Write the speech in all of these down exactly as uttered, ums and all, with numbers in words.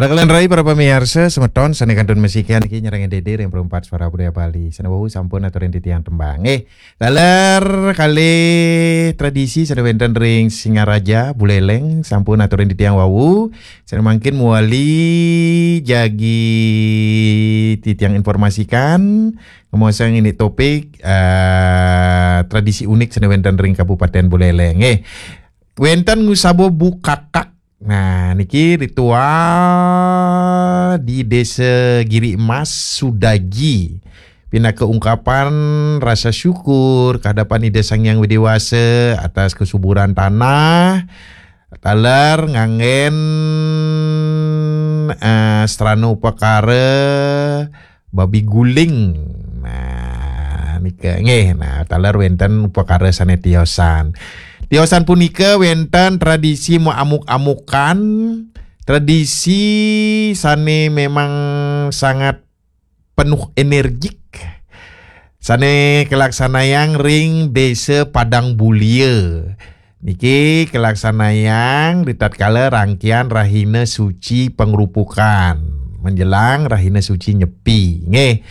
Raka lan rai para pamiarsa semeton sane kantun masikian niki nyarengin dede ring Perumpat Suara Budaya Bali. Sane wau sampun aturin titiang tembang. Eh, taler tradisi sane wenten ring Singaraja, Buleleng, sampun aturin titiang wau. Sane mangkin mawali jagi titiang informasikan, ngemaosang indik topik, eh, tradisi unik sane wenten ring Kabupaten Buleleng. Eh, wenten ngusaba bukakak. Nah, niki ritual di Desa Giri Emas, Sudaji. Pinaka ungkapan rasa syukur kehadapan Ida Sang Hyang Widi Wasa atas kesuburan tanah. Taler nganggen, eh, strana upakara babi guling. Nah, nika nggih. Nah, taler wenten upakara sane tiosan. Tiosan punika wenten tradisi maamuk-amukan, tradisi sane memang sangat penuh energik, sane kalaksanayang ring Desa Padang Bulia. Niki kalaksanayang ritatkala rangkian Rahina Suci Pangrupukan, menjelang Rahina Suci Nyepi, nggih.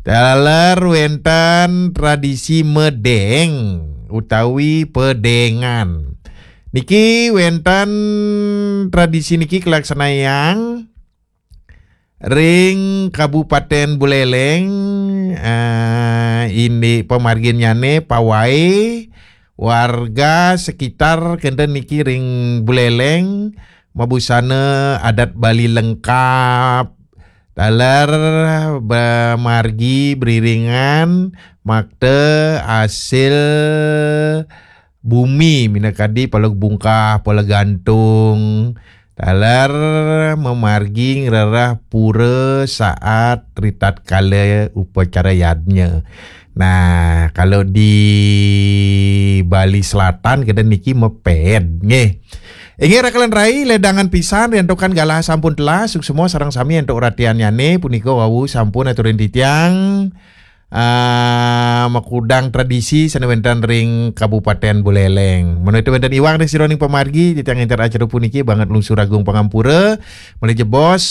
Taler wenten tradisi medeng utawi pedengan. Niki wenten tradisi niki kalaksanayang ring Kabupaten Buleleng, eh, indik pamarginnyane pawai warga sekitar kenten niki ring Buleleng mabusana adat Bali lengkap, taler ba-, margi beriringan makta asil bumi, minakadi pala bungkah, pala gantung, taler mamargi ngrereh pura saat ritatkala upacara yadnya. Nah, kalau di Bali Selatan kita niki meped, nggih. Inggih raka lan rai, ledangan pisan riantukan galah sampun telas, suksma sareng sami antuk ratiannyane punika wau sampun aturin titiang, ah, makudang tradisi sane wenten ring Kabupaten Buleleng. Menawi wenten iwang ring sajeroning pamargi, titiang ngenter acara puniki banget lungsur agung pangampura. Malih jebos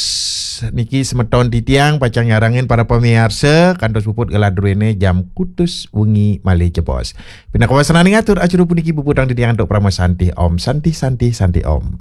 niki semeton titiang pacang nyarengin para pamiarsa kantos puput galah druene jam kutus wengi malih jebos. Pinaka wasananing atur acara puniki puputang titiang antuk parama santi. Om Santi, Santi, Santi Om.